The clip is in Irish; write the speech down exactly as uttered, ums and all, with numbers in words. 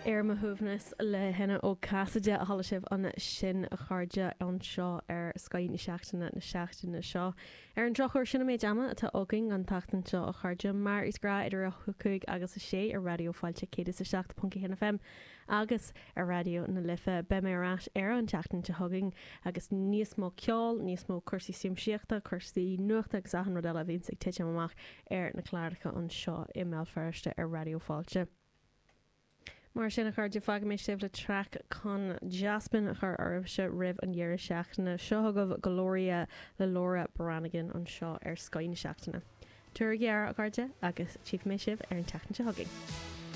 Ar mo shuaimhneas le hEanna Ó Casaide a chuala sibh ansin a chairde anseo ar Scoth na Seachtaine na seachtaine seo. Ar an drochuair sin an méid ama atá againn an tseachtain seo a chairde mar is gnách idir a cúig agus a sé ar Raidió Fáilte céad is a seacht ponc a haon FM agus ar Raidió na Life beidh mé ar ais ar an tseachtain seo chugainn agus níos mó ceol, níos mó cúrsaí siamsaíochta, cúrsaí nuachta agus achan rud eile a bhíonns ag titim amach ar na cláracha anseo i mBéal Feirste ar Raidió Fáilte. Mar sin a chairde fágfaidh mé sibh le traic chun dea-spion a chur oraibhse roimh an deireadh seachtaine seo chugaibh Gloria le Laura Branigan anseo ar Scoth na Seachtaine. Tabhair aire a chairde agus tchífidh mé sibh ar an tseachtain seo chugainn.